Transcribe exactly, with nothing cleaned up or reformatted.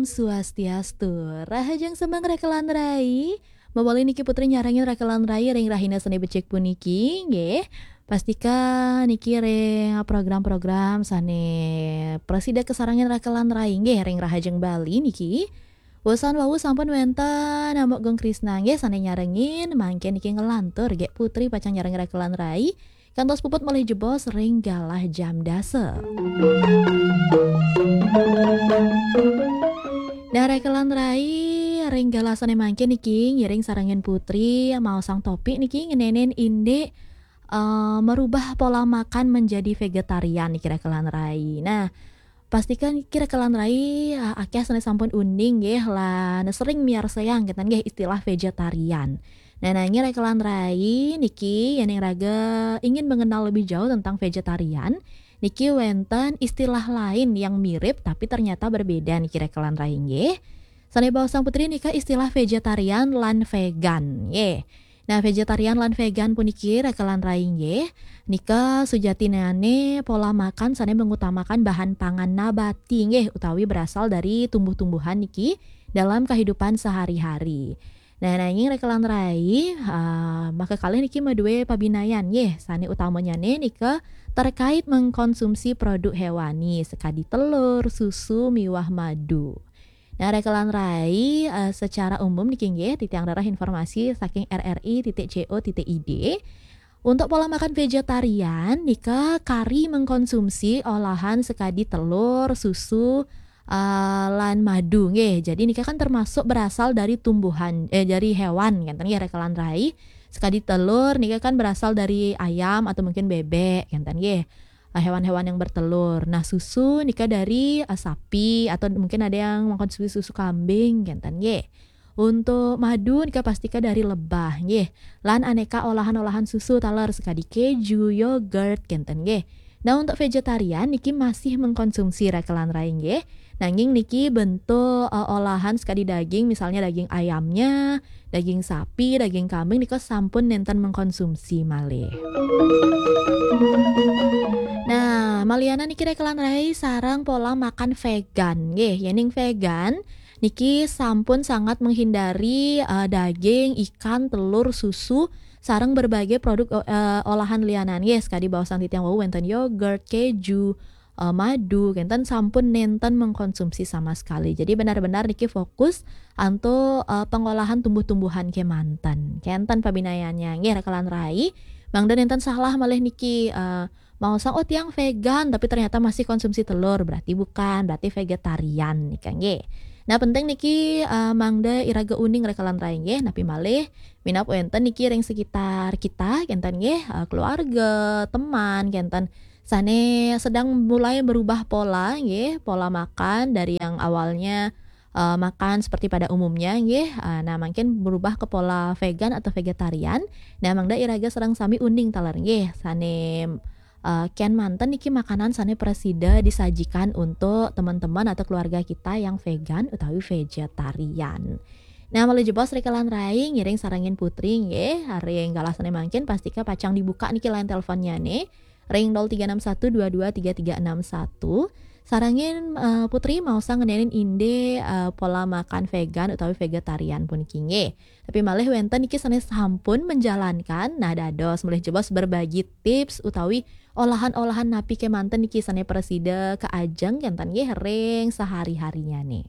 Swastiastu. Rahajeng semeng rekelan rai. Mawali niki Putri nyarengin rekelan rai ring rahina sane becik puniki, nggih. Pastika niki ring program-program sane prasida kasarengin rekelan rai, nggih, ring Rahajeng Bali niki. Wusan wau sampun wenten Amuk Gung Krisna, nggih, sane nyarengin, mangke niki nglantur, nggih, Putri pacang nyarengin rekelan rai. Kantos puput malih jebos ring galah jam dasa. Nah, rekelan rai ring galah sane mangke niki ngiring sarengin Putri maosang topik niki ngenenin indik, eh, merubah pola makan menjadi vegetarian niki rekelan rai. Nah, pastika niki rekelan rai, eh, akeh sane sampun uning nggih lan sering miarsayang kenten nggih istilah vegetarian. Nah, nanging rekelan rai niki yen ing raga ingin mengenal lebih jauh tentang vegetarian, niki wenten istilah lain yang mirip tapi ternyata berbeda niki rekelan rai nggih. Sane baosang Putri nika istilah vegetarian lan vegan nggih. Nah, vegetarian lan vegan puniki rekelan rai nggih. Nika sujatinane pola makan sane mengutamakan bahan pangan nabati nggih utawi berasal dari tumbuh-tumbuhan niki dalam kehidupan sehari-hari. Nah, nanging rekelan rai, ah, maka kalih niki madue pabinayan nggih, sane utamanyane nika terkait mengkonsumsi produk hewani, sekadi telur, susu, miwah madu. Nah, rekelan rai, eh, secara umum niki nggih, titiang rereh informasi saking R R I titik C O titik I D. Untuk pola makan vegetarian, nika kari mengkonsumsi olahan sekadi telur, susu, eh, lan madu nggih. Jadi nika kan termasuk berasal dari tumbuhan, eh, dari hewan, kenten nggih, rekelan rai. Sekadi telur nika kan berasal dari ayam atau mungkin bebek, kenten nggih. Eh, hewan-hewan yang bertelur. Nah, susu nika dari, eh, sapi atau mungkin ada yang mengkonsumsi susu kambing, kenten nggih. Untuk madu nika pastika dari lebah nggih. Lan aneka olahan-olahan susu taler sekadi keju, yogurt, kenten nggih. Nah, untuk vegetarian niki masih mengkonsumsi rekelan rai nggih. Nanging niki bentuk, eh, olahan sekadi daging, misalnya daging ayamnya, daging sapi, daging kambing nika sampun nenten mengkonsumsi malih. Nah, maliana niki rekelan rai sareng pola makan vegan nggih. Yening vegan niki sampun sangat menghindari, eh, daging, ikan, telur, susu, sareng berbagai produk, eh, olahan lianan nggih. Sekadi baosang titiang wau wenten yogurt, keju, eh, madu, kenten sampun nenten mengkonsumsi sama sekali. Jadi benar-benar niki fokus antuk, eh, pengolahan tumbuh-tumbuhan kemanten. Kenten pabinayannya nggih rekelan rai. Mangda nenten salah malih niki, eh, maosang, "Oh, tiang vegan," tapi ternyata masih konsumsi telur, berarti bukan, berarti vegetarian nika nggih. Nah, penting niki, eh, mangda iraga uning rekelan rai nggih, napi malih minab wenten niki ring sekitar kita, kenten nggih, eh, keluarga, teman, kenten sane sedang mulai berubah pola nggih, pola makan dari yang awalnya, eh, makan seperti pada umumnya nggih, eh, nah, mungkin berubah ke pola vegan atau vegetarian. Nah, mangda iraga sareng sami uning taler nggih, sane, eh, ken manten niki makanan sane prasida disajikan untuk teman-teman atau keluarga kita yang vegan utawi vegetarian. Nah, malih jebos rekelan rai ngiring sarengin Putri nggih, ring galah sane mangkin pastika pacang dibuka niki line teleponnyane ring nol tiga enam satu dua dua tiga tiga enam satu. Sarengin, eh, Putri maosang ngenenin indik, eh, pola makan vegan utawi vegetarian puniki nggih. Tapi malih wenten niki sane sampun menjalankan, nah dados malih jebos berbagi tips utawi olahan-olahan napi kemanten niki sane prasida kaajeng kenten nggih ring sehari-harinyane.